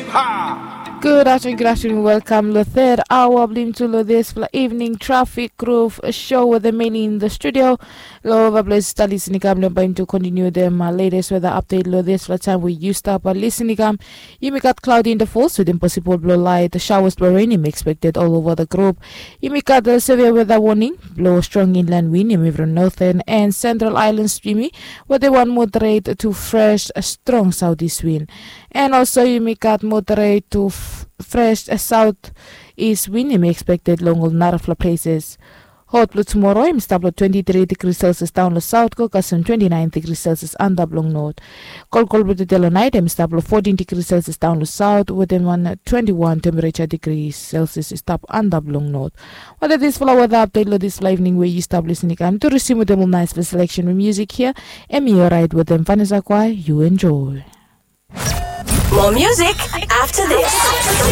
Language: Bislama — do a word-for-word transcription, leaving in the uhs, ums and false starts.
Gud aftenun, gud aftenun, welkam long third aoa blong yumi tu long dispela evening traffic groove show with the Meli in the studio. Long ova ples stap lisin i kam long baim tu kontiniu dem uh, latest weather update long dispela taim we yu stap uh, lisin i kam. Yumi gat cloudy in the falls with impossible blong light showers blong rain im expected all over the group. Yumi gat a severe weather warning blong strong inland wind yumi from northern and central islands yumi with a one moderate to fresh strong southeast wind. And also yumi gat moderate to fresh southeast wind yumi expected long ol narafla places. Hot blong tumoro im stap long twenty-three degrees celsius down long south go kasem twenty-nine degrees celsius antap long north. Kolkol blong tude long nait im stap long fourteen degrees celsius down long south wetem one twenty-one temperature degrees celsius i stap antap long north. Wada dispela weather update long dispela evening we yu stap lisin i kam tu risim wetem ol naispela selection we music hia. Em i orait wetem vanessa kwai yu enjoy. More music after this.